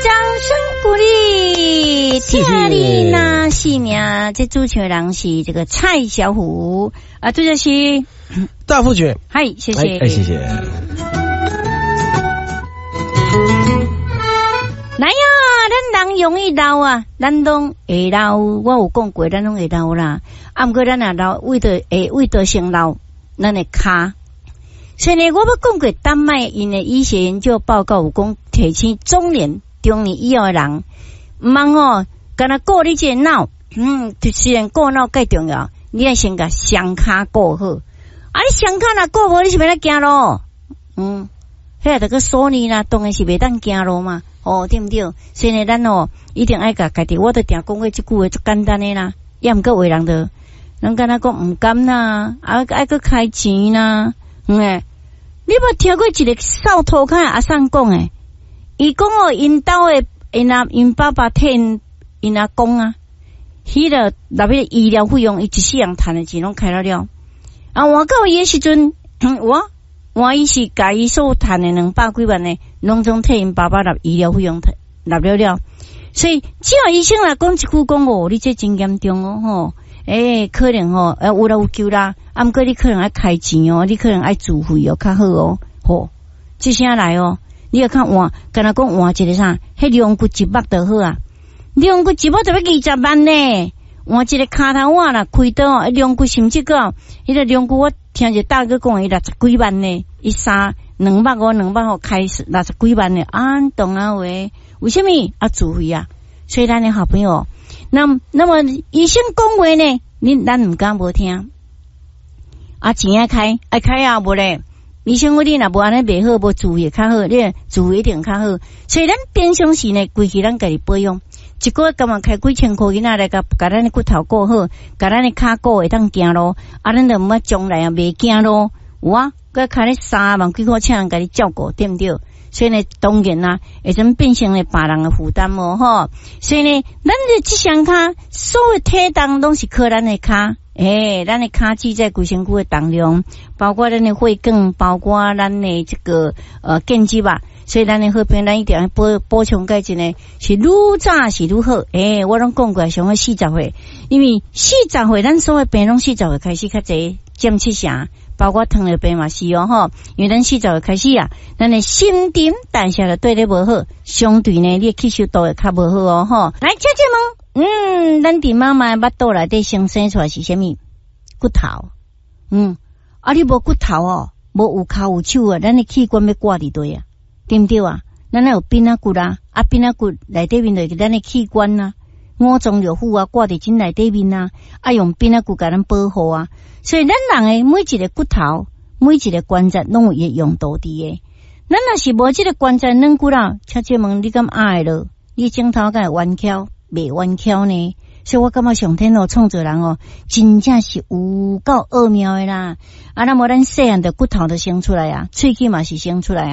掌聲鼓勵。謝謝。聽你若是命，這主唱人是這個蔡小虎啊，這就是大富卷。嗨，謝謝，哎，謝謝。來呀，咱人容易老啊，咱攏會老。我有講過，咱攏會老啦。啊，毋過咱若老，為著會為著先老，咱的跤。所以呢，我欲講過，丹麥𪜶的醫學研究報告有講，提醒中年以後的人，毋通哦，干焦顧你這个腦，雖然顧腦蓋重要，你愛先共雙跤顧好。啊，你雙跤若顧無，你是欲按怎行路？彼个著閣鎖呢啦，當然是袂當行路嘛。哦，對毋對？所以呢，咱哦一定愛共家己，我都定講過這句話足簡單的啦。抑毋過有的人就，人敢若講毋甘啦，啊愛閣開錢啦，欸，你無聽過一個掃塗跤的阿桑講的？伊講哦，𪜶兜的𪜶爸爸替𪜶阿公啊，彼个納彼個醫療費用，伊一世人趁的錢攏開了了。啊，換到伊的時陣，我換伊是共伊所趁的200幾萬的，攏總替𪜶爸爸納醫療費用納了了。所以，只要醫生若講一句講哦，你這真嚴重哦，吼，欸，可能吼，有啦有救啦，啊，毋過你可能愛開錢哦，你可能愛自費哦，較好哦，吼，這聲來哦，你欲較換，敢若講換一个啥，彼龍骨一目就好啊，龍骨一目就欲20萬呢，換一个跤頭碗啦，開刀哦，龍骨甚至閣，彼个龍骨我聽一个大哥講，伊60幾萬呢，伊三兩目哦，兩目吼開60幾萬呢，安懂啊話？為啥物啊自費啊？所以咱的好朋友，那麼醫生講話呢，咱毋敢無聽。啊，錢愛開，愛開啊，無咧。醫生講你若無按呢袂好，無自費較好，你自費一定較好。所以咱平常時呢，規氣咱家己保養，一個月敢若開幾千箍銀仔來共咱的骨頭顧好，共咱的跤顧會當行路，啊，咱就毋愛將來啊袂行路。有啊，閣開咧3萬幾箍請人共你照顧，對毋對？所以呢，當然啦，會陣變成咧別人的負擔哦，吼。所以呢，咱的這雙跤，所有體重攏是靠咱的跤，欸，咱的跤趾在規身軀的重量，包括咱的血管，包括咱的這個建築吧。所以咱的好朋友，咱一定要補充鈣質呢，是愈早是愈好。欸，我攏講過，上好40歲，因為四十歲，咱所有病攏四十歲開始較濟，佔七成。包括糖尿病嘛是哦吼，因為咱四十歲開始啊，咱的新陳代謝就對咧無好，相對呢，你的吸收度會較無好哦吼。來，姐姐們，咱佇媽媽的腹肚內底先生出來是啥物？骨頭。啊，你無骨頭哦，無有跤有手啊，咱的器官欲掛佇佗啊？對毋對啊？咱愛有鬢仔骨啊，啊鬢仔骨內底面就是咱的器官啊，五臟六腑啊，掛佇這內底面啊，啊用鬢仔骨共咱保護啊。所以咱人的每一個骨頭、每一個關節攏有伊的用途佇的。咱若是無這個關節軟骨啦，請請問你敢壓會落？你指頭敢會彎翹？袂彎翹呢？所以我感覺上天哦創造人哦，真正是有夠奧妙的啦！啊，那麼咱細漢的骨頭都生出來啊，喙齒嘛是生出來啊。